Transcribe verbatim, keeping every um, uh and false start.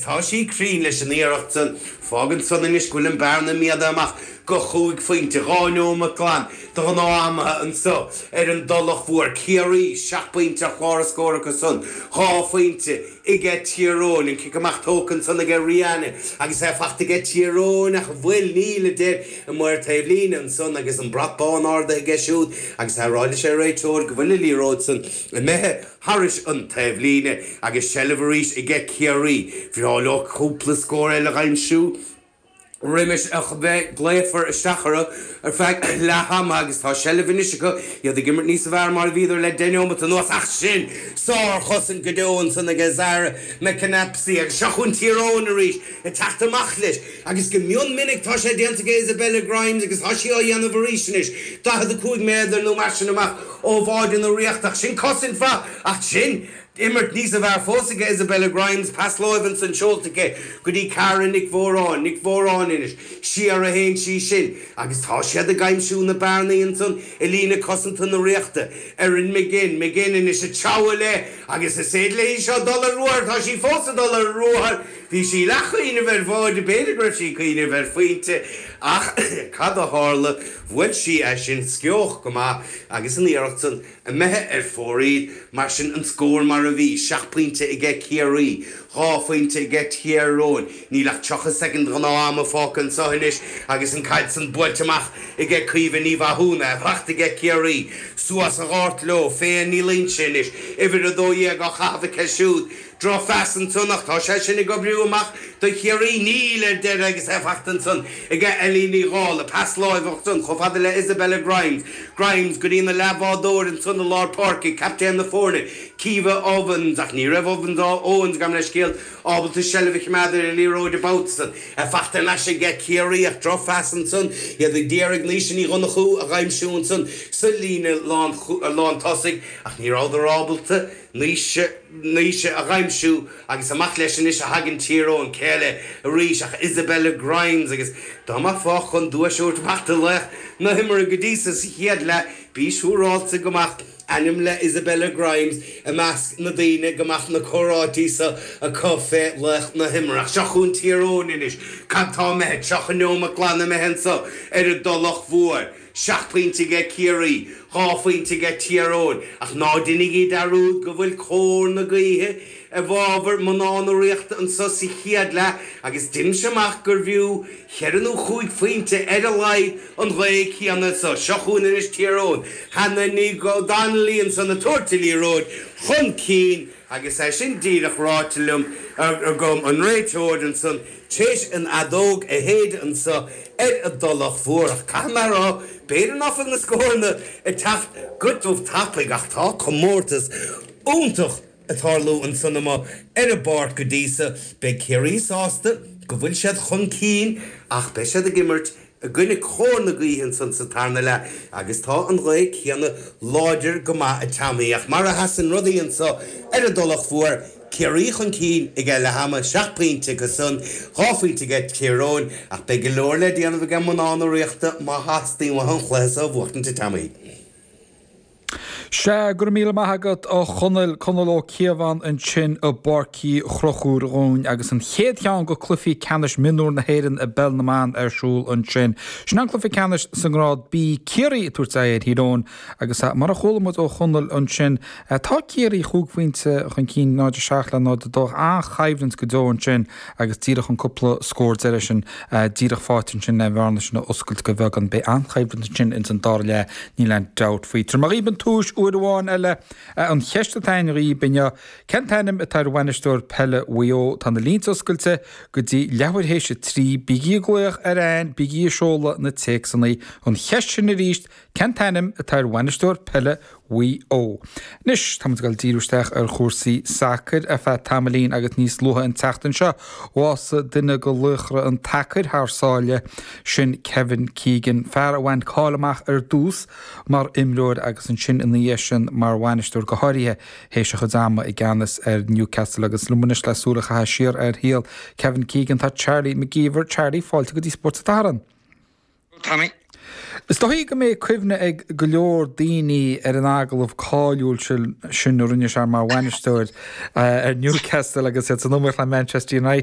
agus tá sí cruinn leis an iarracht san fágann san anois go bhfuil an bearna méadaithe amach go chúig phointe dhá nóiméad glan de ghnáth-am anseo ar an dTulach Mhór. Ciarraí, seacht bpointe ar chlár a scór acu san, dhá phointe aige Tír Eoghain. An cic amach tógtha ansan aige Rianna agus é fachta aige Tír Eoghain ach an bhfuil? Níl, a deir an maor taobhlíne ansan agus an brat bán ardaithe aige siúd agus é ag rá leis an réiteoir go bhfuil an liathróid san imithe thairis an taobhlíne agus seilbh arís aige Ciarraí. Bhreá leo cúpla scór eile a dh'aimsiú roimis a bheith glaofar isteach orthu ar feadh leath ama agus tá seilbh anois acu, iad ag imirt níos fearr mar a bhíodar le deich neomat anuas ach sin sárchosaint go deo ansan aige Zara McAnapsy agus seo chugainn Tír Eoghain arís ag teacht amach leis agus go mion minic tá sé déanta aige Isabella Grimes agus tá sí á dhéanamh arís anois, daichead a cúig méadar nó mar sin amach ó bháide na Ríochta ach sin cosaint mhaith ach sin Imirt níos fearr fós aige Isabella Grimes, pas láimhe ansan seolta aici go dtí Cara Nic Mhóráin, Nic Mhóráin anois, siar a théann sí sin agus tá siad ag aimsiú na bearnaí ansan i líne cosanta na Ríochta. Erin McGinn, McGinn anois ag treabhadh léi agus is féidir léi seo dul ar ruathar, tá sí fós ag dul ar ruathar, bhí sí leathchuimhneamh ar bháide, b'fhéidir go raibh sí ag cuimhneamh ar phointe ach cad a tharla, bhuail sí é sin sceoch go maith agus an iarracht san imithe ar fóraoil, mar sin an scór mar a bhí, seacht bpointe aige Ciarraí, dhá phointe aige Tír Eoghain. Níl ach tríocha soicind de ghnáth-ama fágtha anseo anois agus an caid san buailte amach aige Caoimhe Ní Mhathúna, fachta aige Ciarraí. Suas an gort leo, Féin Ní Loingsigh anois, uimhir a dó dhéag á chaitheamh aici siúd. Drochphas ansan ach tá sé sin ag oibriú amach do Chiarraí. Níl ar deireadh agus é fachta ansan aige Ellie Ní Dhálaigh. Pas láimhe ansan chomh fada le Isabella Grimes. Grimes go dtína leathbhádóir ansan i lár páirce, captaen na foirne, Caoimhe Owens. Ach ní raibh Owens, Owens gabh mo leithscéal, ábalta seilbh a choimeád ar an liathróid an babhta san. É fachta thar n-ais aige Ciarraí ach drochphas ansan. Iad ag iarraidh Naoise Ní Dhonnchú a dh'aimsiú ansan sa líne lántosaigh ach ní rabhadar ábalta. Naoise, Naoise a dh'aimsiú agus amach leis anois a thagann Tír Eoghain, cé eile arís ach Isabella Grimes agus dá mbeifeá chun duais a thabhairt amach do laoch na himeartha go dtí so sa chéad leath, bí siúráilte go mbeadh ainm le Isabella Grimes i measc na daoine go mbeadh na comhráití so acu fé laoch na himeartha. Ach seo chugainn Tír Eoghain anois, cad tá imithe, tríocha neomat glan imithe anso ar an dTulach Mhór. Seacht bpointe aige Ciarraí, dhá phointe aige Tír Eoghain, ach ná deinigí dearúd go bhfuil cóir na gaoithe i bhfabhar mná na Ríochta anso sa chéad leath agus deinimse amach gurbh fhiú cheithre nó chúig phointe ar a laghad an ghaoth chéanna so. Seo chugainn anois Tír Eoghain. Hannah Ní Donnelly ansan ag tabhairt an liathróid chun cinn agus é sin díreach ráite liom agam, an réiteoir ansan Théis an fheadóg a shéideadh anso ar an dTulach Mhór, ach caithfidh mé a rá, b'fhéidir ná fuil na scóranna ag teacht go dubh tapaidh, ach tá comórtas iontach ag tarlú ansan amuigh ar an bpáirc go dtí so. Beidh Ciarraí sásta go bhfuil siad chun cinn ach beidh siad ag imirt i gcoinne cóir na gaoithe ansan sa tarna leath agus tá an ghaoth céanna láidir go maith ag teannadh. Ach mar a sheasann rudaí anso ar an dTulach Mhór, Ciarraí chun cinn ag leath ama, seacht bpointe acu san, dhá phointe aige Tír Eoghain, ach beidh go leor le déanamh aige mná na Ríochta má theastaíonn uathu an chluiche so a bhuachtaint a Tommy. Sea, go raibh míle maith agat a Chonaill, Conall Ó Cíobháin ansin i bPáirc Uí Chonchúir dhúinn agus an chéad cheann de chluichí ceannais mionúr na hÉireann i bpeil na mban ar siúl ansin. Sin an cluiche ceannais sa ngrád B, Ciarraí ag tabhairt aghaidh ar Thír Eoghain agus mar a chuala muid ó Chonall ansin, tá Ciarraí chúig phointe chun cinn, náid a seacht le náid a dó, an-choimhlint go deo ansin agus díreach an cúpla scór deiridh sin díreach faighte ansin le an bhearna sin a oscailt go beagán. Beidh an-choimhlint ansin ins an dara leath, níl aon dabht faoi. Tabharfaidh mé dhaoib an tomhais uair amháin eile. An cheist atá againn dhaoib inniu, cén t-ainm atá ar bhainisteoir peile Mhaigh Eo? Tá na línte oscailte go dtí leathuair théis a trí. Bígí ag glaoch ar an, bígí ag seoladh na téacsanna. An cheist sin arís, cén t-ainm atá ar bhainisteoir peile Mhaigh Eo? Anois, tá muid ag dul díriú isteach ar chúrsaí sacair ar feadh tamaillín agus níos luaithe an tseachtain seo, bhásaigh duine de laochra an tsacair thar sáile, sin Kevin Keegan, fear a bhain cáil amach ar dtús mar imreoir agus ansin ina dhiaidh sin mar bhainisteoir, go háirithe théis a chuid ama i gceannas ar Newcastle. Agus liom anois le súil a chaitheamh siar ar shaol Kevin Keegan tá Charlie McGeever. Charlie, fáilte go dtí Spórt an tSathairn. Tommy. Is dóigh go mbeidh cuimhne ag go leor daoine ar an agallamh cáiliúil sin a rinne sé mar bhainisteoir ar Newcastle agus iad san iomaíocht le Manchester United.